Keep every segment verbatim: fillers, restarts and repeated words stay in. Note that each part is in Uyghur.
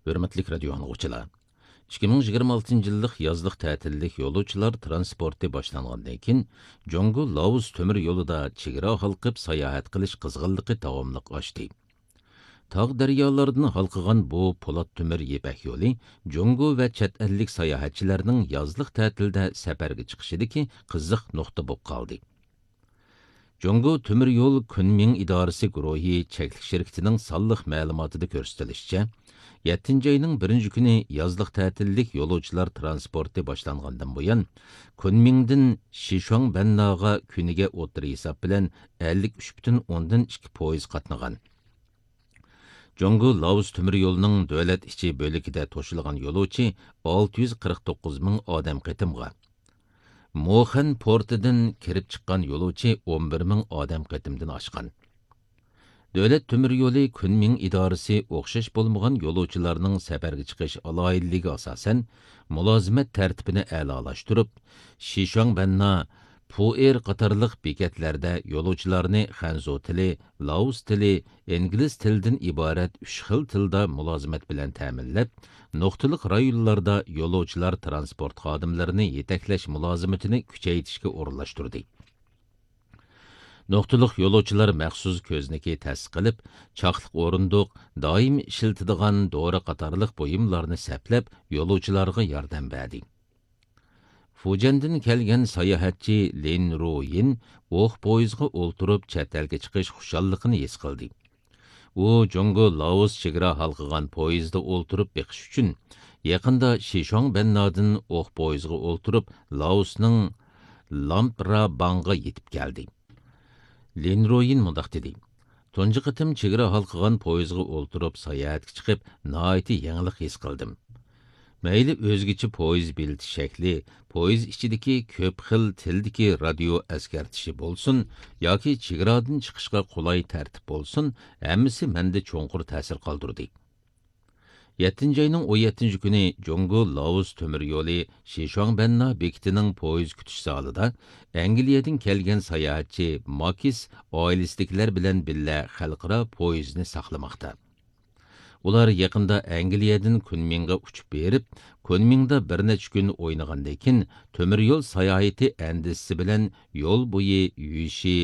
ھۆرمەتلىك رادىيو ئاڭلىغۇچىلار! ئىككى مىڭ يىگىرمە ئالتىنچى يىللىق يازلىق تەتىللىك يولۇچىلار ترانسپورتى باشلانغاندىن كېيىن، جۇڭگو لائوس تۆمۈر يولىدا چېگرا ھالقىپ ساياھەت قىلىش قىزغىنلىقى داۋاملىق ئاشتى. تاغ دەريالاردىن ھالقىغان بۇ پولات تۆمۈر يىپەك يولى جۇڭگو ۋە چەت ئەللىك ساياھەتچىلەرنىڭ يازلىق تەتىلدە سەپەرگە چىقىشىدىكى قىزىق نۇقتا بولۇپ قالدى. جۇڭگو تۆمۈر يول كۈنمىڭ ئىدارىسى گۇرۇھى چەكلىك شىركىتىنىڭ سانلىق مەلۇماتىدا كۆرسىتىلىشىچە، يەتتىنچى ئاينىڭ بىرىنچى كۈنى يازلىق تەتىللىك يولۇچىلار ترانسپورتى باشلانغاندىن بۇيان، كۈنمىڭدىن شىشۇاڭبەنناغا كۈنىگە ئوتتۇرا ھېساب بىلەن ئەللىك ئۈچ پۈتۈن ئوندىن ئىككى پويىز قاتنىغان. جۇڭگو لائوس تۆمۈر يولىنىڭ دۆلەت ئىچى بۆلىكىدە توشۇلغان يولۇچى ئالتە يۈز قىرىق توققۇز مىڭ ئادەم قېتىمغا، موخەن پورتىدىن كىرىپ چىققان يولۇچى ئون بىر مىڭ ئادەم قېتىمدىن ئاشقان. دۆلەت تۆمۈر يولى كۈنمىڭ ئىدارىسى ئوخشاش بولمىغان يولۇچىلارنىڭ سەپەرگە چىقىش ئالاھىدىلىكىگە ئاساسەن، مۇلازىمەت تەرتىپىنى ئەلالاشتۇرۇپ، شىشۇاڭبەننا، پۇئېر قاتارلىق بېكەتلەردە يولۇچىلارنى خەنزۇ تىلى، لائوس تىلى، ئىنگلىز تىلىدىن ئىبارەت ئۈچ خىل تىلدا مۇلازىمەت بىلەن تەمىنلەپ، نۇقتىلىق رايونلاردا يولۇچىلار ترانسپورت خادىملىرىنى يېتەكلەش مۇلازىمىتىنى كۈچەيتىشكە ئورۇنلاشتۇردى. نۇقتىلىق يولۇچىلار مەخسۇس كۆزنىكى تەسىس قىلىپ، چاقلىق ئورۇندۇق، دائىم ئىشلىتىدىغان دورا قاتارلىق بۇيۇملارنى سەپلەپ، يولۇچىلارغا ياردەم بەردى. فۇجيەندىن كەلگەن ساياھەتچى لىن رۇيىن ئوق پويىزغا ئولتۇرۇپ چەت ئەلگە چىقىش خۇشاللىقىنى ھېس قىلدى. ئۇ جۇڭگو لائوس چېگرا ھالقىغان پويىزدا ئولتۇرۇپ بېقىش ئۈچۈن، يېقىندا شىشۇاڭبەننادىن ئوق پويىزغا ئولتۇرۇپ لائوسنىڭ لامپراباڭغا يېتىپ كەلدى. لىن رويىن مۇنداق دېدى: «تۇنجى قېتىم چېگرا ھالقىغان پويىزغا ئولتۇرۇپ ساياھەتكە چىقىپ، ناھايىتى يېڭىلىق ھېس قىلدىم. مەيلى ئۆزگىچە پويىز بېلىتى شەكلى، پويىز ئىچىدىكى كۆپ خىل تىلدىكى رادىيو ئەسكەرتىشى بولسۇن ياكى چېگرادىن چىقىشقا قولاي تەرتىپ بولسۇن، ھەممىسى مەندە چوڭقۇر تەسىر قالدۇردى.» يەتتىنچى ئاينىڭ ئون يەتتىنچى كۈنى جۇڭگو لائوس تۆمۈر يولى شىشۇاڭبەننا بېكىتىنىڭ پويىز كۈتۈش زالىدا ئەنگلىيەدىن كەلگەن ساياھەتچى ماكىس ئائىلىسىدىكىلەر بىلەن بىللە خەلقئارا پويىزنى ساقلىماقتا. ئۇلار يېقىندا ئەنگلىيەدىن كۈنمىڭغا ئۇچۇپ بېرىپ، كۈنمىڭدا بىر نەچچە كۈن ئوينىغاندىن كېيىن، تۆمۈر يول ساياھىتى ئەندىزىسى بىلەن يول بويى يۈشى،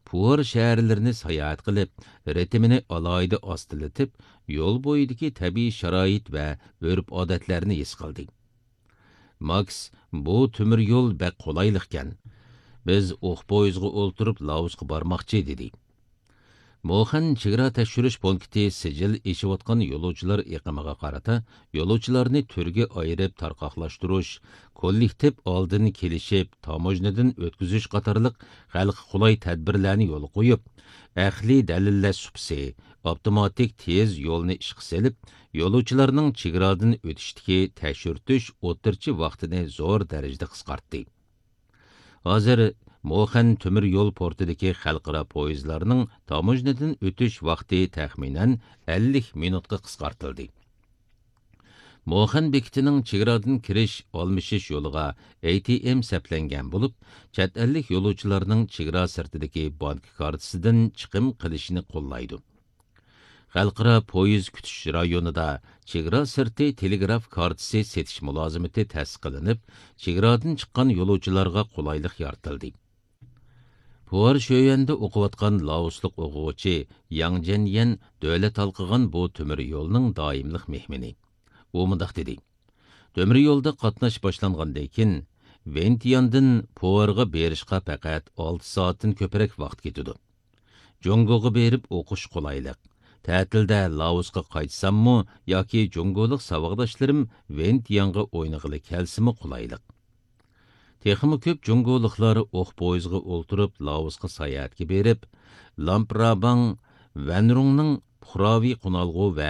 پۇئېر شەھەرلىرىنى ساياھەت قىلىپ، رىتىمىنى ئالاھىدە ئاستىلىتىپ، يول بويىدىكى تەبىئىي شارائىت ۋە ئۆرپ-ئادەتلەرنى ھېس قىلدى. ماكس: «بۇ تۆمۈر يول بەك قولايلىقكەن. بىز ئوق پويىزغا ئولتۇرۇپ لائوسقا بارماقچى»، دېدى. موخەن چېگرا تەكشۈرۈش پونكىتى سىجىل ئېچىۋاتقان يولۇچىلار ئېقىمىغا قارىتا يولۇچىلارنى تۈرگە ئايرىپ تارقاقلاشتۇرۇش، كوللېكتىپ ئالدىن كېلىشىپ تاموژنىدىن ئۆتكۈزۈش قاتارلىق خەلققە قولاي تەدبىرلەرنى يولغا قويۇپ، ئەقلىي دەلىللەش سۇپىسى، ئاپتوماتىك تېز يولنى ئىشقا سېلىپ، يولۇچىلارنىڭ چېگرادىن ئۆتۈشتىكى تەكشۈرتۈش ئوتتۇرىچە ۋاقتىنى زور دەرىجىدە قىسقارتتى. ھازىر موخەن تۆمۈر يول پورتىدىكى خەلقئارا پويىزلارنىڭ تاموژنىدىن ئۆتۈش ۋاقتى تەخمىنەن ئەللىك مىنۇتقا قىسقارتىلدى. موخەن بېكىتىنىڭ چېگرادىن كىرىش ئالمىشىش يولىغا ئەي تى ئېم سەپلەنگەن بولۇپ، چەت ئەللىك يولۇچىلارنىڭ چېگرا سىرتىدىكى بانكا كارتىسىدىن چىقىم قىلىشنى قوللايدۇ. خەلقئارا پويىز كۈتۈش رايونىدا چېگرا سىرتى تېلېگراف كارتىسى سېتىش مۇلازىمىتى تەسىس قىلىنىپ، چېگرادىن چىققان يولۇچىلارغا قولايلىق يارىتىلدى. پۇئېر شۆيۈەندە ئوقۇۋاتقان لائوسلۇق ئوقۇغۇچى ياڭ جەنيەن دۆلەت ھالقىغان بۇ تۆمۈر يولنىڭ دائىملىق مېھمىنى. ئۇ مۇنداق دېدى: «تۆمۈر يولدا قاتناش باشلانغاندىن كېيىن، ۋېنتىياندىن پۇئېرغا بېرىشقا پەقەت ئالتە سائەتتىن كۆپرەك ۋاقىت كېتىدۇ. جۇڭگوغا بېرىپ ئوقۇش قولايلىق. تەتىلدە لائوسقا قايتساممۇ ياكى جۇڭگولۇق ساۋاقداشلىرىم ۋېنتىيانغا ئوينىغىلى كەلسىمۇ قولايلىق. تېخىمۇ كۆپ جۇڭگولۇقلار ئوق پويىزغا ئولتۇرۇپ لائوسقا ساياھەتكە بېرىپ، لامپراباڭ، ۋەنرۇڭنىڭ پۇقراۋى قونالغۇ ۋە